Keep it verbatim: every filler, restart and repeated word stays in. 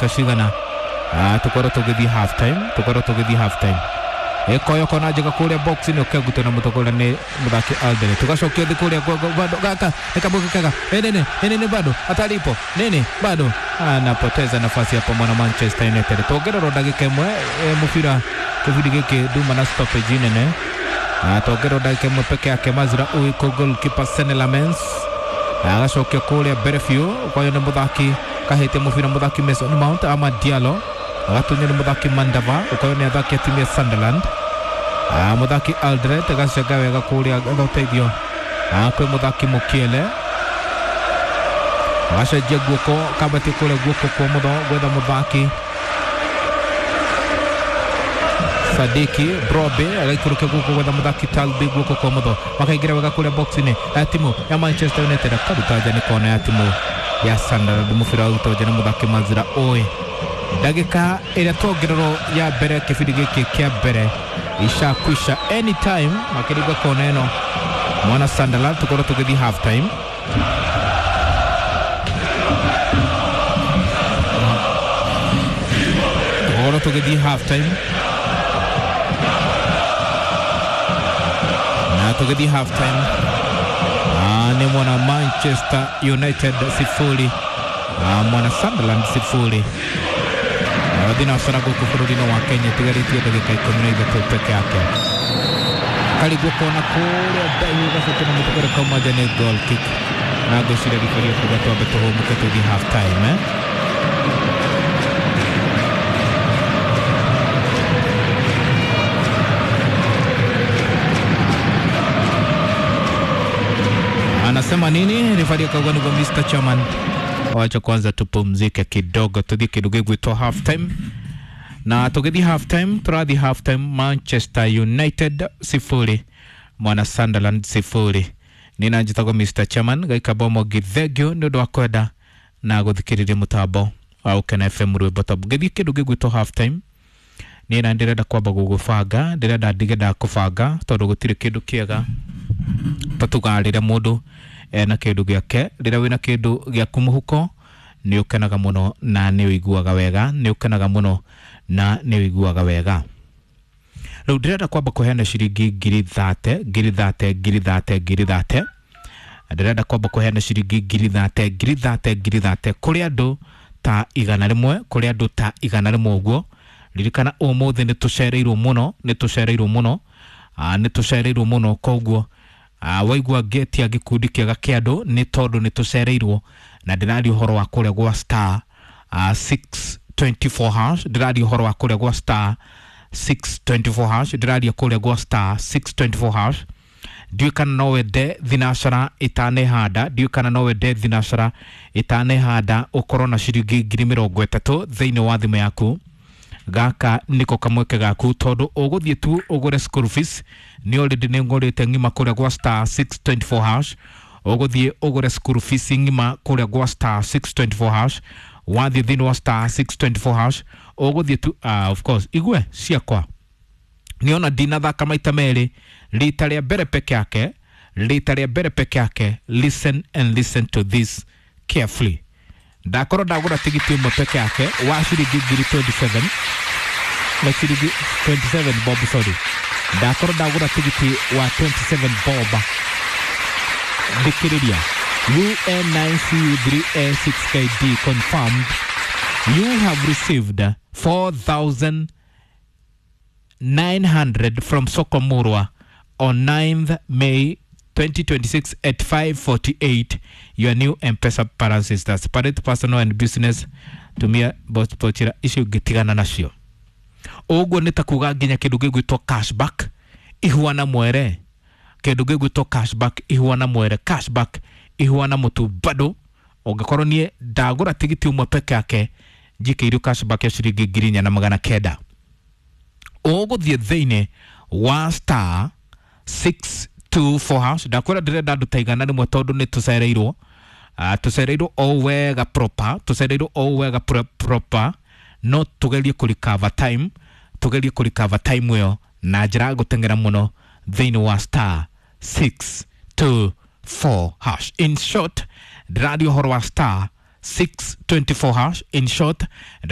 ndagĩka cigana tukorwo tũgĩthiĩ half time tukorwo tũgĩthiĩ half time ekoyo kona njega kũrĩa box-inĩ ũkegutwo na mũtongoria nĩ mũthaki Aldere tũgacokio thĩ kũrĩa bado gaka nĩ kamweke kega nene nene bado atalipo nene bado anapoteza nafasi hapo mwana Manchester United tuongererwo ndagĩka ĩmwe mũbira kĩbindi gĩkĩ nduma na stoppage nene tuongererwo ndagĩka ĩmwe peke yake Mazra Uiko goalkeeper Senne Lammens agacokia kũrĩa mbere biũ kwayo nĩ mũthaki kahĩte mũbira mũthaki Mason Mount ama Diallo agatunywo nĩ mũthaki Mandava ũkoyo nĩ athaki a timu ya Sunderland mũthaki Aldred agacenga wega kũrĩa ũteithio kwĩ mũthaki Mukiele agacenjia guoko kambatie kũrĩa guoko kwa mũtho gwetha mũthaki Sadiki Brobe agaikũrũkia guoko gwetha mũthaki Talbi guoko kwa mũtho makaingĩra wega kũrĩa box-inĩ ya timu ya Manchester United akaruta nja nĩ kona ya timu ya Sunderland mũbira warutwo nja nĩ mũthaki Mazra Oe ndagĩka ĩrĩa tuongererwo ya mbere kĩbindi gĩkĩ kĩa mbere ishakwisha anytime makĩringa kona ĩno mwana Sunderland tukorwo tũgĩthiĩ half time tukorwo tũgĩthiĩ half time na tũgĩthiĩ half time nĩ mwana Manchester United sifuri mwana Sunderland sifuri thinacara gũkũ bũrũri-inĩ wa Kenya itigarĩtie ndagĩka ikũmi na ithatũ peke yake karigwo kona kũrĩa ndaihu gacoke na mũtũkore kauma nja nĩ goal kick na ngwĩciria ribari kuga twambe tũhũmũke tũthiĩ half time eh? Anasema nini rifari akauga nĩguo Mister Chairman wacha kwanza tupumzike kidogo tuthiĩ kĩndũ gĩgwĩtwo half time na tũgĩthiĩ half time tũrathiĩ half time Manchester United sifuri mwana Sunderland sifuri nina njĩtagwo Mister Chairman gaikamba mogi thengio nĩ ũndũ wa kwenda na gũthikĩrĩria mũtambo wa Ũkena F M rwĩmbo tabu ngĩthiĩ kĩndũ gĩgwĩtwo half time nina ndĩrenda kwamba gũgũbanga ndĩrenda ndige ndakũbanga tondũ gũtirĩ kĩndũ kĩega ta tugarĩre mũndũ ena kĩndũ gĩake rĩrĩa wĩna kĩndũ gĩaku mũhuko nĩ ũkenaga mũno na nĩ ũiguaga wega nĩ ũkenaga mũno na nĩ ũiguaga wega rĩu ndĩrenda kwamba kũheana ciringi ngiri thate ngiri thate ngiri thate ngiri thate ndĩrenda kwamba kũheana ciringi ngiri thate ngiri thate ngiri thate kũrĩ andũ ta igana rĩmwe kũrĩ andũ ta igana rĩmwe ũguo ririkana ũmũthĩ nĩ tũcereirwo mũno nĩ tũcereirwo mũno nĩ tũcereirwo mũno koguo Uh, waigua ngetia gĩkundi kĩega kĩa andũ nĩ tondũ nĩ tũcereirwo na ndĩraria ũhoro wa kũrĩa gwa star uh, six twenty-four hash ndĩraria ũhoro wa kũrĩa gwa star six twenty-four hash ndĩraria kũrĩa gwa star six twenty-four hash ndiũĩ kana no wende thinacara ĩtanehanda ndiũĩ kana no wende thinacara ĩtanehanda ũkorwo na ciringi ngiri mĩrongo ĩtatũ thĩinĩ wa thimũ yaku gaka niko kamweke gaku tondu ũgũthiĩ tu ũgũre school fees nĩ already nĩ ngũrĩte ng'ima kũrĩa gwa star six twenty-four hash ũgũthiĩ ũgũre school fees ng'ima kũrĩa gwa star six twenty-four hash wathiĩ thĩinĩ wa star six twenty-four hash ũgũthiĩ tu uh, of course igue ciakwa nĩona ndinathaka maita merĩ rita rĩa mbere peke yake rita rĩa mbere peke yake listen and listen to this carefully ndakorwo ndagũra tigiti ũmwe peke yake wa ciringi ngiri twenty-seven na ciringi twenty-seven bob sorry ndakorwo ndagũra tigiti wa twenty-seven bob thikĩrĩria U N nine C U three A six K D confirmed you have received four thousand nine hundred from Soko Murwa on ninth May twenty twenty-six at five forty-eight. Your new M-Pesa balance is that separate personal and business tumia bochira icio ngĩtigana nacio ũguo nĩ ta kuga nginya kĩndũ gĩgwĩtwo cashback ihuana mwere kĩndũ gĩgwĩtwo cashback ihuana mwere cashback ihuana mũtu bado ũngĩkorwo niĩ ndagũra tigiti ũmwe peke yake njikĩirio cashback ya ciringi ngiri inya na magana kenda ũgũthiĩ thĩinĩ wa star six two four hash ndakwĩra ndĩrenda andũ ta igana rĩmwe tondũ nĩ tũcereirwo uh, tũcereirwo o wega proper tũcereirwo o wega pro, proper no tũgerie kũ recover time tũgerie kũ recover time ĩyo na njĩra ya gũteng'era mũno thĩinĩ wa star six two four hash in short ndĩraria ũhoro wa star six twenty-four hash in short.